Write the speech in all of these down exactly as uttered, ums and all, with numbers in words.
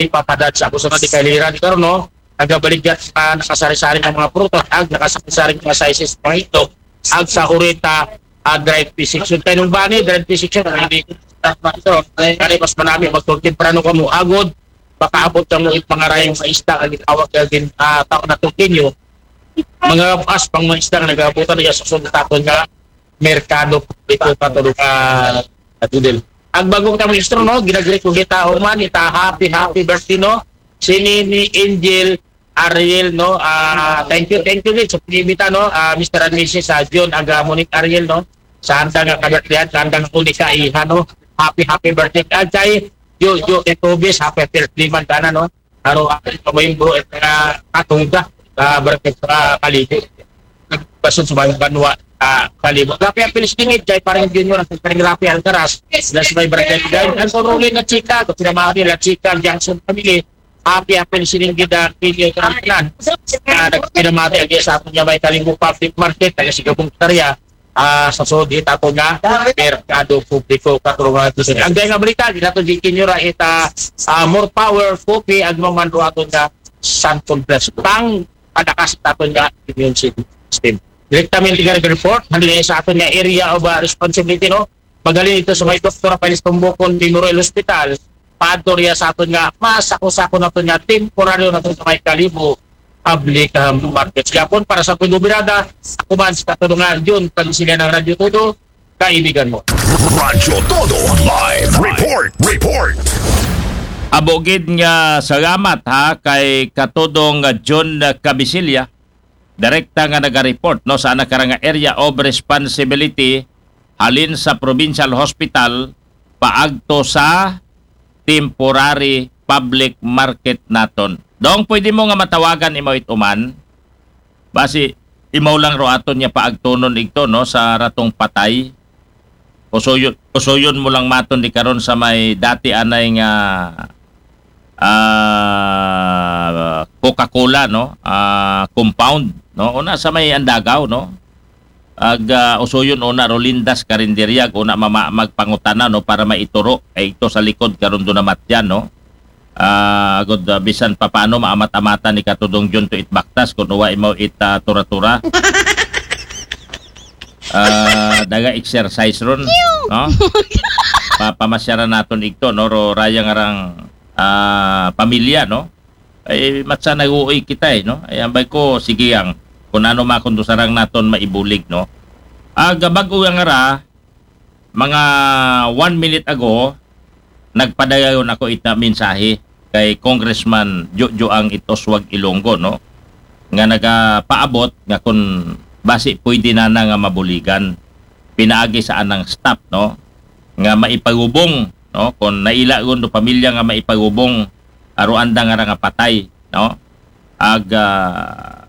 ipapadad sa ako sa mga dikaliran. Pero no, nagabaligya sa nakasari-sari nga mga prutas, ag nakasari-sari nga sizes, mga itlog, ag sa urita, ag dried fish section. Kay nung bani, dried fish section, ang hindi ko ito. Kaya mas manami, magtulog temprano ka mo, agod, makaabot ka mo yung pangarayang sa isda, ang itawag ka din, ah, tao na tukinyo. Mga as, pang mga isda, nga nagabutan niya sa sunod takon nga, merkado, ito pa tulog ka, Tudel. Ang bagong kami istro, no? Ginagri ko kita, human, ita, happy, happy birthday, no? Si Nini, Angel, Ariel, no? Ah, thank you, thank you, Nini, sa pag-imbita, no? Ah, Mister and Missus, ah, John, aga, Monique, Ariel, no? Sa handa nga kabirthday, sa handa nga unika, iha, no? Happy, happy birthday. At kay, yo, yo, kay Tobis, happy birthday man ka na, no? Araw-araw, ito mo yung bro, ito nga, katuda, ah, birthday sa Kalibo. Basod sa mga banwa, ah, Kalibo. Rafi Apilis Dingit, kay parang Junior, ang parang Rafi Alcaraz, na sa may birthday. Dahil ang Rolly na chika, kung sinamahan nila chika, ang Johnson family, happy, happy listening gid ang Pinyo Karampinan. Ah, nagpinamati ang sa ato niya may Kalingo Public Market, taga Sigabong Tarya, ah, sa sud hit ato nga merkado publiko, katulungan nato sa ang dahil nga balita, di nato di kinyura ita, ah, more power, coffee, ag mamanro ato nga Santon Plus. Pang padakas ato nga immune system. Direktamente nga report, hali sa ato nga area of, ah, responsibility, no? Magaling ito sa may Doktor Rafael Tumbukon Memorial Hospital, paadto riya sa aton nga masako-sako nato nga temporaryo nato sa may Kalibo Public, um, Market. Gapon para sa Pagubirada, ako man sa katulungan, Jun, pag sila ng Radyo Todo, kaibigan mo. Radyo Todo Live Report. Report. Abogid nga salamat ha kay Katudong John Cabisilla, direkta nga naga-report, no, sa ana karang nga area of responsibility halin sa provincial hospital paagto sa temporary public market naton. Dong, pwede mo nga matawagan imo ituman? Basi imo lang ro aton niya paagtonon igto, no, sa ratong patay. Usuyon, usuyon mo lang maton di karon sa may dati anay nga ah, Coca-Cola, no? Ah, compound, no? Una sa may Andagaw, no? Ag ah, usuyon una Rolindas Karinderya, ag una mama magpangutana, no, para maituro ay ito sa likod karon do namatyan, no? Ah, agod ah, bisan papaano maamat-amatan ni Katudong John to it baktas kung uwa imo it ah, tura-tura. Ah, daga exercise ron, no? Papamasyaran naton igto, no? Ro raya nga rang ah, pamilya, no? Ay matsa naguoy kita eh, no? Ay ambay ko sige ang kung ano makundusarang naton maibulig, no? Aga bag-o nga ra, mga one minute ago, nagpadayon ako ita mensahe kay Congressman Jojo ang Itoswag Ilonggo, no? Nga nagapaabot nga kung basi pwede na na nga mabuligan pinaagi sa anang staff, no? Nga maipagubong, no? Kung naila gun do pamilya nga maipagubong aruanda nga ra nga patay, no? Ag ah,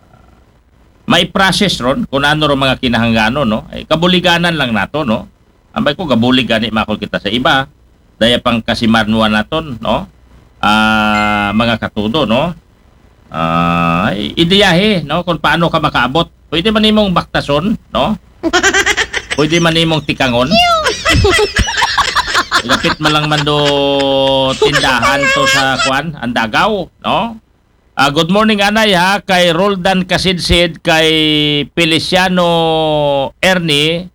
may process ron kung ano ro mga kinahanglanon, no? Ay, kabuliganan lang nato, no? Ambay ko gabulig gani makol kita sa iba. Daya pang kasimarnuan naton, no? Ah, mga katudo, no? Ah, ideyahe, no? Kung paano ka makaabot. Pwede man imong baktason, no? Pwede man imong tikangon. Lapit man lang man do tindahan to sa kwan, Andagaw, no? Ah, good morning, Anay, ha, kay Roldan Kasidsid, kay Feliciano Ernie,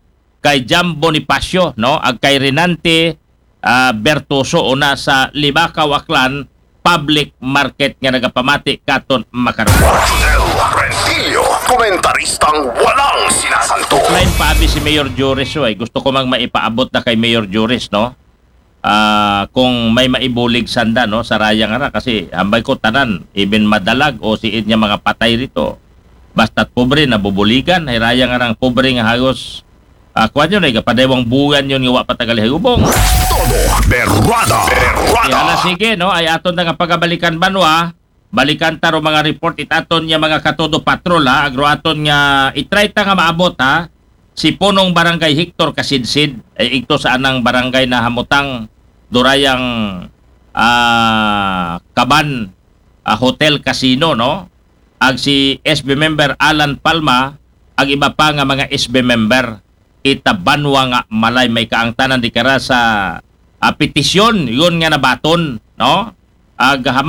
kay Jam Bonifacio, no? Ag kay Renante ah, Bertoso una sa Libacao, Aklan Public Market nga nagapamati katon makaron. Rodel Rentillo, komentaristang walang sinasanto. Line pa abi si Mayor Joris, oy. Gusto ko mang maipaabot na kay Mayor Joris, no? Ah, kung may maibulig sanda, no, sa raya nga ra, kasi ambay ko tanan, even madalag o siid niya mga patay rito. Basta't pobre, nabubuligan, ay raya nga rang pobre nga hagos. Ah, kuwan yun, ay kapadaywang buwan yun nga wa pa tagali hagubong. Todo Berrada. Berrada. Kaya na sige, no, ay aton na nga pagabalikan banwa, balikan ta ro mga report itaton niya mga katodo patrol ha, agro aton nga itry ta nga maabot ha, si punong barangay Hector Kasidsid, ay igto sa anang barangay na hamutang durayang ah, Kaban ah, Hotel Casino, no? Ag si S B member Alan Palma, ag iba pa nga mga S B member, ita banwa nga malay may kaangtanan di kara sa ah, petisyon, yun nga nabaton, no? Ag ha